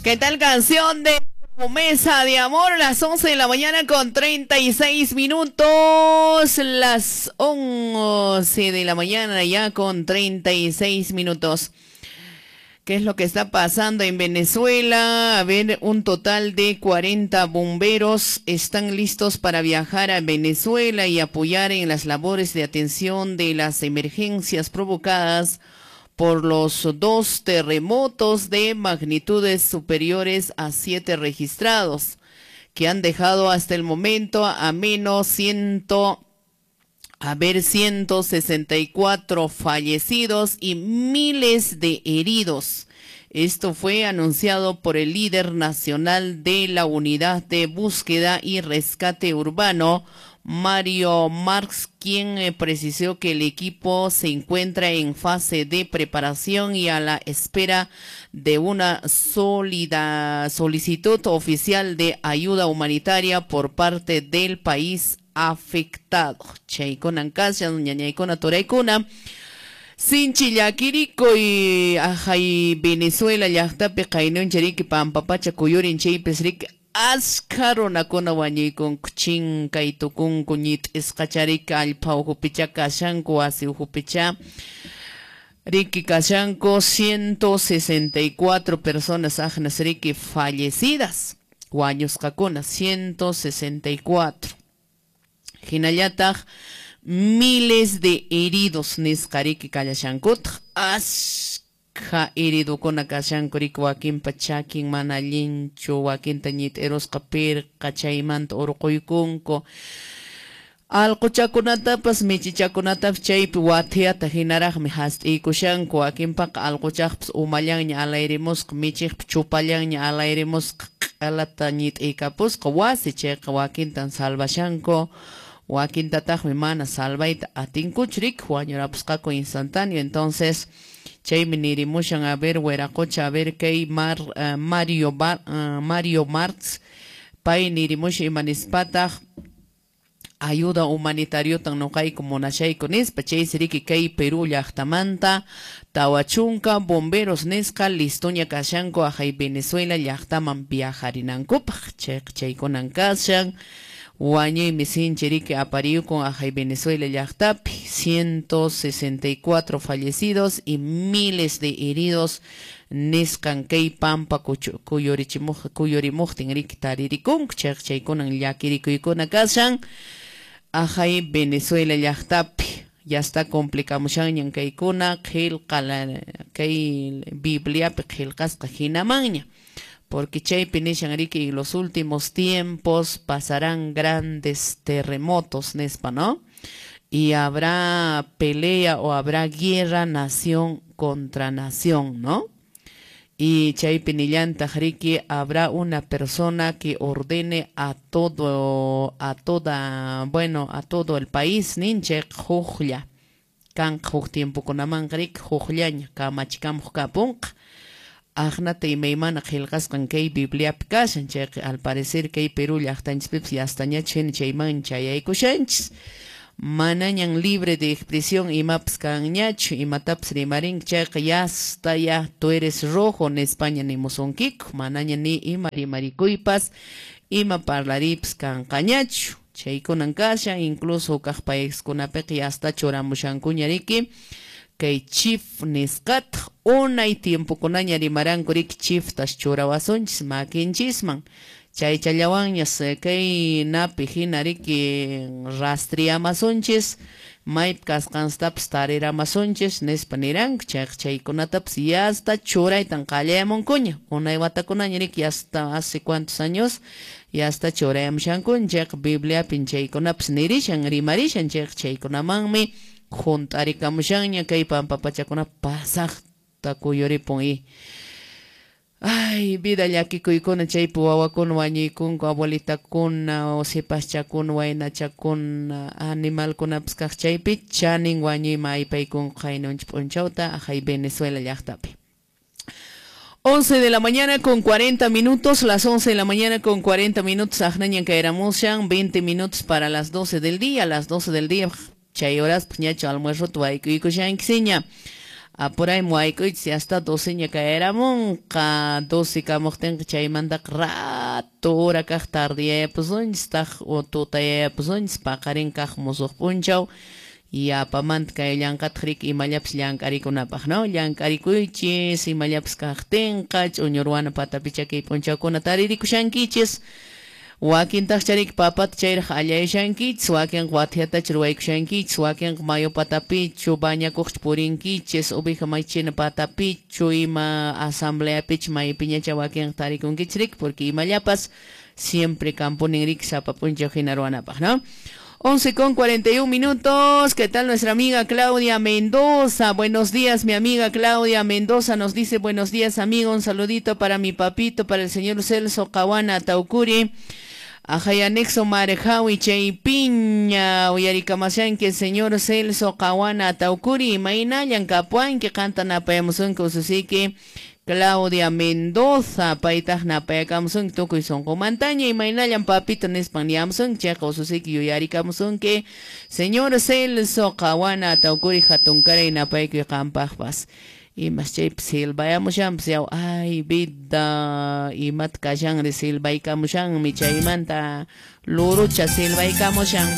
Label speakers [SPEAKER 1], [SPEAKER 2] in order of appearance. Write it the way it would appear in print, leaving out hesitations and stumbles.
[SPEAKER 1] ¿Qué tal canción de Promesa de Amor? Las 11 de la mañana con 36 minutos. Las 11 de la mañana ya con 36 minutos. ¿Qué es lo que está pasando en Venezuela? A ver, un total de 40 bomberos están listos para viajar a Venezuela y apoyar en las labores de atención de las emergencias provocadas por los 2 terremotos de magnitudes superiores a 7 registrados, que han dejado hasta el momento a menos 164 fallecidos y miles de heridos. Esto fue anunciado por el líder nacional de la Unidad de Búsqueda y Rescate Urbano, Mario Marx, quien precisó que el equipo se encuentra en fase de preparación y a la espera de una sólida solicitud oficial de ayuda humanitaria por parte del país afectado. Chaykunan kashan, ñañaykuna turaykuna. Sinchi llakiriko y ajay Venezuela llaqtapi qaynuncha riki pampapacha kuyurin chaypis riki askha runakuna wañuykunku chinkay tukunku ñit'isqachariki allpa ukhupicha kashanku wasi ukhupicha riki kashanku 164 personas aqnas riki fallecidas wañusqakuna 164 hinallataq miles de heridos nisqa riki kallashankutaq askha heridokuna kashanku riki wakinpa chakin mana allinchu wakinta ñit'irusqa pirqa chaymanta urquykunku alquchakunatapas michichakunatapas chaypi wathiyata hinaraqmi hast'iykushanku wakinpaqa alquchaqpas umallanña alayrimusqa michiqpa chupallanña alayrimusqa q'alata ñit'iykapusqa wasi chayqa wakintan salvashanku wakintataqmi mana salvayta atinkuchu riki wañurapusqaku instantáneo. Entonces chaymi nirimushan a ver wiraqocha a ver kay Mario Marx pay nirimushan imanispataq ayuda humanitariota noqayku munashayku nispa chaysi riki kay Perú llaqtamanta 40 bomberos nisqa listoña kashanku ajay Venezuela llaqtaman viajarinankupaq chayqa chaykunan kashan wañuymi sinchi riki apariyukun ajay Venezuela llaqtapi 164 fallecidos y miles de heridos nisqan kay pampa kuyurimuqtin riki taririkunku chayqa chaykunan llakirikuykuna kashan ajay Venezuela llaqtapi. Ya está complicamushanñan kaykuna qillqa kay Bibliapi qillqasqa hinamanña porque chaypi nishan riki en los últimos tiempos pasarán grandes terremotos nispa, ¿no? Y habrá pelea o habrá guerra nación contra nación, ¿no? Y chaypi nillantaq riki habrá una persona que ordene a todo el país ninchik huklla kanqa huk tiempokunamanqa riki hukllaña kamachikamuq kapunqa aqnata imaymana qillqasqan kay Bibliapi kashan chayqa al parecer kay Perú llaqtanchispipas yastañachu hina chayman chayaykushanchis manañan libre de expresión imapas kanñachu imatapas rimarinki chayqa yasta ya tú eres rojo nispaña nimusunkiku manaña ni ima rimarikuypas ima parlariypas kanqañachu chaykunan kashan incluso kaq paiskunapiqa yasta churamushankuña riki kay chief nisqataq unay tiempokunaña rimaranku riki chiftas churawasunchis makinchisman chaychallawanñas kay napi hina riki rastriamasunchis maypi kasqanstapas tariramasunchis nispa niranku chayqa chaykunatapas yasta churaytan qallayamunkuña unay watakunaña riki yasta hace cuantos años yasta churayamushankuña chayqa Bibliapin chaykunapas nirishan rimarishan chayqa chaykunamanmi junt'arikamushanña kay pampapachakuna pasaqta kuyuripun y ay vida llakikuykuna chaypi wawakuna wañuykunku abuelitakuna sipaschakuna waynachakuna animalkunapas kaq chaypi chanin wañuyman aypaykunku qaynunchik p'unchawta ajay Venezuela llaqtapi. 11 de la mañana con 40 minutos, las 11 de la mañana con 40 minutos, aqnañan kayramushan, 20 minutos para las 12 del día, las 12 del día, chay horas ñachu almuerzo tuwaykuykushankiña. Apurayman wayk'uychis hasta 12 ña kayaramunqa 12 kamuqtinqa chaymantaqa rato hora kaq tardeyayapusunchis taq tutayayapusunchis paqarin kaq musuq p'unchaw yapamanta kayllanqataq riki imallapas llank'arikunapaq, no? Llank'arikuychis imallapas kaqtinqa ch'uñu ruwana patapicha kay p'unchawkuna taririkushankichis. Wakintaqcha riki papata chayraq allayashankichis, wakinqa wathiatacha ruwaykushankichis, wakinqa mayu patapichu bañakuqchu purinkichis, oveja machina patapichu, ima asambleapichu maypiñacha wakinqa tarikunkichis riki, porque imallapas siempre kampunin riki sapa p'unchaw hina ruwanapaq, ¿no? 11:41. ¿Qué tal nuestra amiga Claudia Mendoza? Buenos días, mi amiga Claudia Mendoza nos dice buenos días, amigo. Un saludito para mi papito, para el señor Celso Cawana Taucuri. Ajay anexo Marjawi Chaypiña, uyarikamashanki señor Celso Cawana Taucuri, imaynallan kapuanki qanta napayamusunki ususiki Claudia Mendoza, paytaq napayakamusunki tukuy sunqumantaña, imaynallan papito nispan niyamusunki, chayqa ususiki yuyarikamusunki señor Celso Cawana Taucuri hatunkaray napaykuy qampaqpas. Imas chaypi silbayamushanpas yaw, ay vida, imata kashanri silbaykamushanmi chaymanta lurucha silbaykamushan.